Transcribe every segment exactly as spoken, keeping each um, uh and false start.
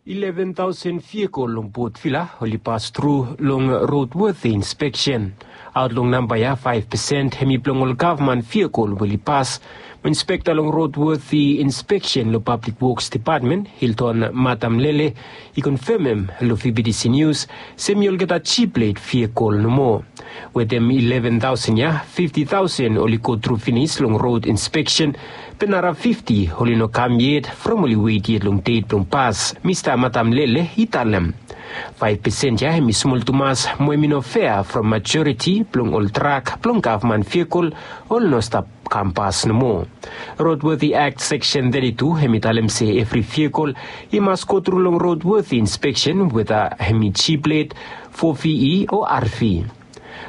Eleven tausen vehikel long Port Vila oli pas tru long roadworthy inspection. Aot long namba ya, five percent hemi blong ol gavman vehikel we oli pas. Mo inspekta long roadworthy inspection long Public Works Department, Hilton Madam Lele, i konfemem long V B T C News se hemi olgeta G-plate vehikel nomo. Wetem eleven tausen ya, fifti tausen oli go tru finis long road inspection, be nara fifti oli no kam yet from oli wet yet long det blong pas, Mista Madam Lele i talem. Faef pesen ya hemi smol tumas mo hemi no fea from majoriti blong ol trak blong gavman vehikel oli no stap kam pas nomo. Roadworthy Act Section thirty-two hemi talem se evri vehikel i mas go tru long roadworthy inspection weta hemi G-plate, four V E o R V.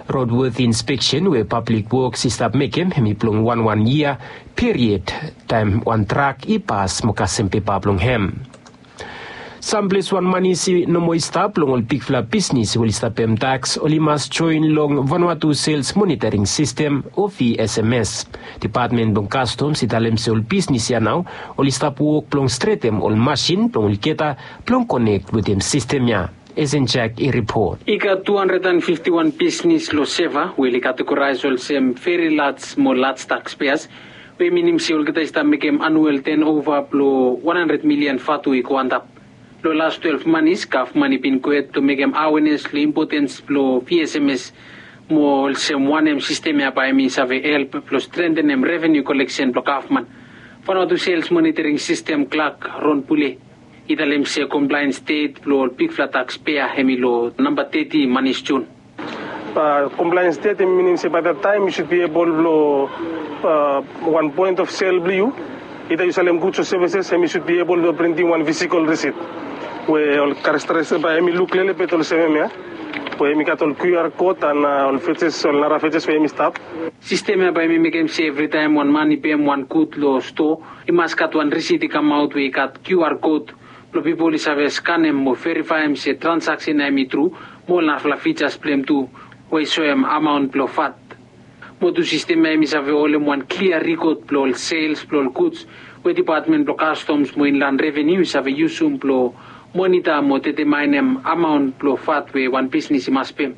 Roadworthy inspection we Public Works i stap mekem hemi blong wan wan yia period taem wan trak i pas mo kasem pepa blong hem. Sam ples wan manis i no moa i stap long ol bigfala bisnis we oli stap pem taks oli mas joen long Vanuatu Sales Monitoring System o V S M S. Depatmen blong Customs i talem se ol bisnis ya nao oli stap wok blong stretem ol masin blong olgeta blong konek wetem sistem ya. Esen Jack i ripot. I gat tu handred and fifti wan bisnis long Seva we oli kategoraes olsem veri laj mo laj takspeas, we i minim se olgeta i stap mekem anuel tenova blong wan handred milian vatu i go antap. Long las twelef manis gavman i bin go hed blong mekem awenes long impotens blong V S M S, mo olsem wanem sistem ya bae hemi save help blong strentenem revenu koleksen blong gavman. Vanuatu Sales Monitoring System klak Ron Pule i talem se komplaens det blong ol bigfala takspea hemi long namba teti manis Jun. Komplaens det hemi minim se bae dat taem yu sud bi ebol blong wan poen of sel blong yu, ida yu salem guds o sevises, hemi sud bi ebol blong printim wan fisikol risit we ol karestare bae hemi luk lelebet olsem hemia, we hemi gat ol QR kot an ol fejes, ol nara fejes we hemi stap. Sistem ya bae hemi mekem se evritaem wan man i pem wan gud long stoa, i mas gat wan risit i kamaot we i gat QR kot blong pipol i save skanem mo verifaem se transaksen ya hemi tru, mo ol narafala fijas blong hem tu we i soem amaon blong vat. Mo tu sistem ya hemi save holem wan klia rikod blong ol sels blong ol guds we Depatmen blong Kastoms mo Inlan Revenu i save yusum blong monita mo detemaenem amaon blong vat we wan bisnis i mas pem.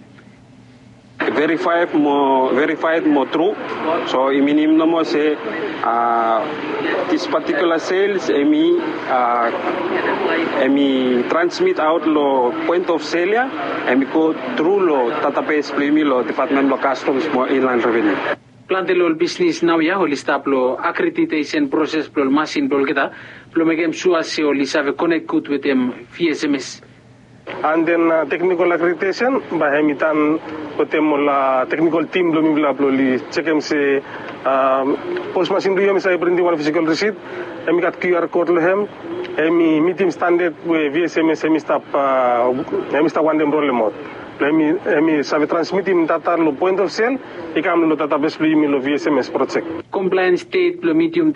Verifaed mo verifaed mo tru. So i minim nomo se dis patikula sels hemi hemi transmit aot long poen of sel ya, hemi go tru long databes blong yumi long Depatmen blong Kastoms mo Inlan Revenu. Plante long ol bisnis naoia oli stap long akreditesen proses blong ol masin blong olgeta blong mekem sua se oli save konek gud wetem V S M S. An den teknikol akreditesen bae hemi tan wetem ol teknikol tim blong mifala blong oli jekem se pos masin blong yu hemi save printim wan fisikol risit, hemi gat QR kot long hem, hemi mitim standad we V S M S hemi stap hemi stap wantem rolemaot. Blong hemi hemi save transmitim data long poen of sel i kam long databes blong yumi long V S M S projek. Komplaens det blong midium